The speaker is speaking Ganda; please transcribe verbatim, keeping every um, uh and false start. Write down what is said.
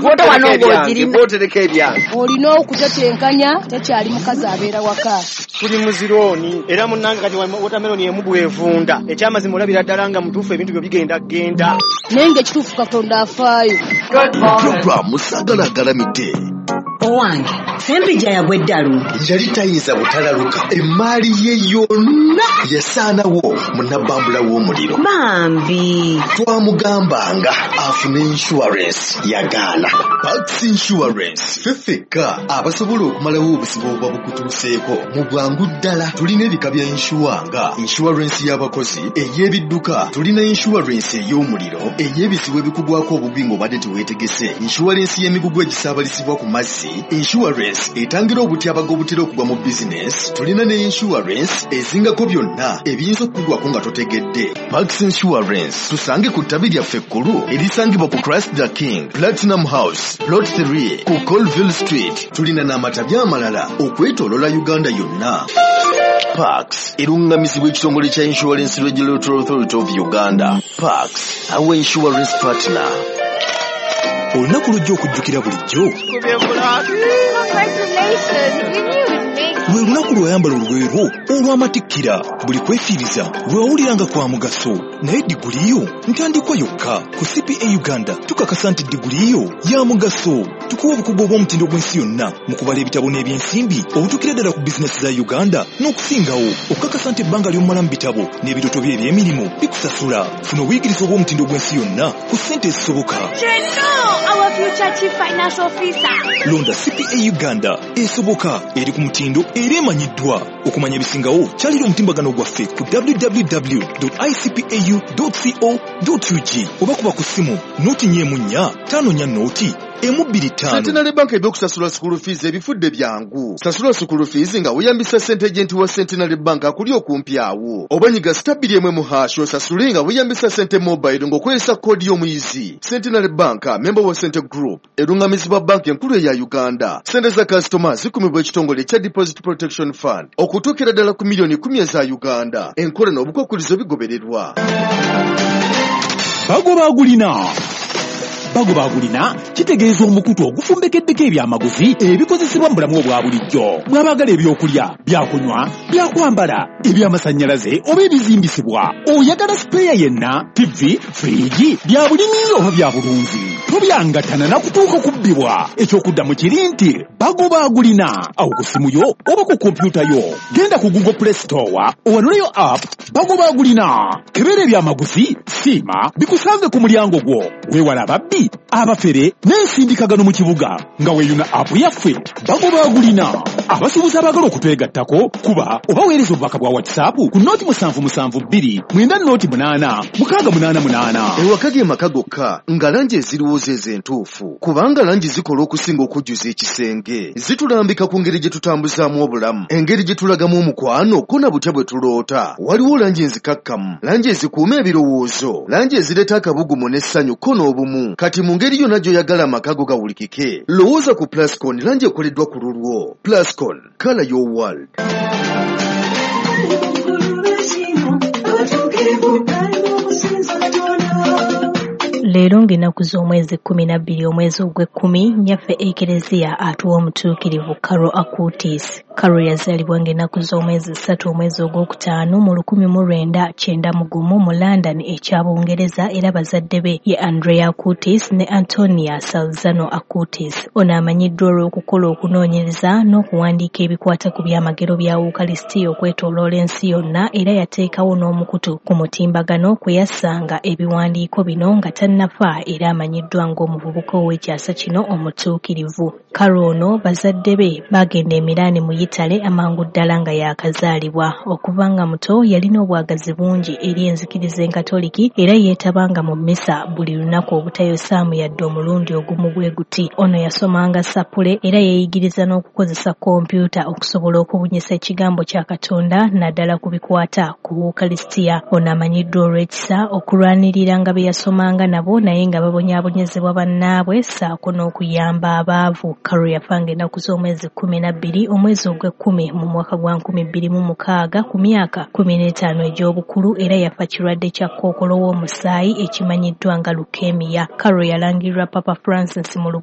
Foto wano ng'ogirina. Bw'otereka ebyange. Olina okutetenkanya, tekyali mukazi abeera waka. Tuli mu zirooni era munnange kati watermelon emu bw'evunda. Ekyamazima olabira ddala nga mutuufu ebintu byo bigenda genda. Naye ng'ekituufu Katonda afaayo. Pulogulaamu Saagala Agalamidde. Owange, Sempijja yagwa eddalu. Yali tayinza butalaluka, emmaali ye yonna yasaanawo mu nabbambula w'omuliro. Bambi. Twamugambanga afune insurance, yagaana. Pax Insurance, ffe ffekka abasobola okumalawo obuzibu obuba bukutuuseeko mu bwangu ddala. Tulina ebika bya insure nga insurance y'abakozi, ey'ebidduka, tulina insurance ey'omuliro, ey'ebizibu ebikugwako obubi ng'obadde teweetegese, insurance y'emigugu egisaabalizibwa ku mazzi, insurance etangira obutyabaga obutera okugwa mu bizinesi, tulina ne insurance ezingako byonna ebiyinza okukugwako nga totegedde. Pax Insurance, tusange ku ttabi lyaffe ekkulu erisangibwa ku Christ the King Platinum House, Plot three ku Colville Street. Tulina n'amatabi amalala okwetooloola Uganda yonna. Pax erungamizibwa ekitongole kya Insurance Regulatory Authority of Uganda. Pax, our insurance partner. Olunaku lujja okujjukira bulijjo lwe lunaku lw'oyambala olugoye lwo olw'amatikkira. Buli kwefiiriza lwe wawulira nga kwa mugaso, naye diguli yo ntandikwa yokka. Ku C P A Uganda tukakasa nti diguli yo ya mugaso. Tukuwa obukugu obw'omutindo gw'ensi yonna mu kubala ebitabo n'ebyensimbi obutuukira ddala ku bizinesi za Uganda n'okusingawo, okukakasa nti ebbanga ly'omala mu bitabo n'ebirooto bye eby'emirimu bikusasula. Funa obuyigirize obw'omutindo gw'ensi yonna ku ssente ezisoboka. Our future chief financial officer. Londa C P A Uganda, esoboka, eri ku mutindo era emanyiddwa. Okumanya ebisingawo, kyalira omutimbagano gwaffe ku W W W icpau co ug oba kuba ku ssimu noti nnya emu nnya ttaano nnya noti emu bbiri ttaano. Centenary Bank ebyokusasula school fees ebifudde byangu. Sasula school fees nga weeyambisa sente agent wa Centenary Bank akuli okumpi awo, oba nyiga star bbiri emu emu hash osasule nga weeyambisa Sente Mobile ng'okozesa koodi y'omuyizi. Centenary Bank, member wa Sente Group, erungamizibwa banka enkulu eya Uganda. Sente za kasitoma zikumibwa ekitongole ekya Deposit Protection Fund okutuukira ddala ku miliyoni kumi eza Uganda. Enkola n'obukwakkulizo bigobererwa. Bagoba agulina. Bagoba agulina kitegeeza omukutu ogufumbekeddeko ebyamaguzi ebikozesebwa mu bulamu obwa bulijjo. Bw'abaagala ebyokulya, byakunywa, byakwambala, ebyamasannyalaze oba ebizimbisibwa, oyagala spare yenna, T V, fridge, bya bulimi oba bya bulunzi, tobyangatana nakutuuka kubbibwa. Ekyokuddamu kiri nti bagoba agulina. Awo ku ssimu yo oba ku kompyuta yo, genda ku Google Play Store owanuleyo app Bagoba agulina, kebera ebyamaguzi, siima bikusange ku mulyango gwo. Weewala ababbi, abafere n'ensindikagano mu kibuga nga weeyuna app yaffe Bagoba agulina. Abasuubuzi abaagala okutwegattako, kuba oba weereza obubaka bwa WhatsApp ku nooti musanvu musanvu bbiri mwenda nooti munaana mukaaga munaana munaana. Ewaka ge maka gokka nga langi eziriwo zeezo entuufu, kubanga langi zikola okusinga okujjuza ekisenge. Zitulambika ku ngeri gye tutambuzaamu obulamu, engeri gye tulagamu omukwano, ko na butya bwe tuloota. Waliwo langi enzikakkamu, langi ezikuuma ebirowoozo, langi ezireeta akabugumu n'essanyu ko n'obumu. Kati mu ngeri yonna gy'oyagala amaka go gawulikike, lowooza ku Plascon, langi ekoleddwa ku lulwo. Plascon, color your world. Leero ng'ennaku z'omwezi kkumi na bbiri omwezi ogw'ekkumi, nnyaffe Ekereziya atuwa omutuukirivu Carlo Acutis. Carlo yazaalibwa ng'ennaku z'omwezi ssatu omwezi ogwokutaano mu lukumi mu lwenda kyenda mu gumu mu London ekya Bungereza, era bazadde be ye Andrea Acutis ne Antonia Salzano Acutis. Ono amanyiddwa olw'okukola okunoonyereza n'okuwandiika ebikwata ku byamagero bya Wukalisitiya okwetooloola ensi yonna, era yateekawo n'omukutu ku mutimbagano kwe yassanga ebiwandiiko bino nga tannafa, era amanyiddwa ng'omuvubuka ow'ekyasa kino omutuukirivu. Carlo ono bazadde be baagenda e Milan mu Yitale amangu ddala nga yaakazaalibwa. Okuva nga muto yalina obwagazi bungi eri enzikiriza enkatoliki, era yeetabanga mu mmisa buli lunaku obutayosaamu yadde omulundi ogumu bwe guti. Ono yasomanga sapule era yeeyigiriza n'okukozesa kompyuta okusobola okubunyisa ekigambo kya Katonda, naddala ku bikwata ku Wukalisitiya. Ono amanyiddwa olw'ekisa, okulwaniriranga be yasomanga nabo naye nga babonyaabonyezebwa bannaabwe, ssaako n'okuyamba abaavu. Carlo yafanga ennaku z'omwezi kkumi na bbiri omwezi ogw'ekkumi mu mwaka gwa nkumi bbiri mu mukaaga ku myaka kkumi n'etaano egy'obukulu, era yafa kirwadde kya kookolo w'omusaayi ekimanyiddwa nga leukemia. Carlo yalangirirwa Papa Francis mu lubu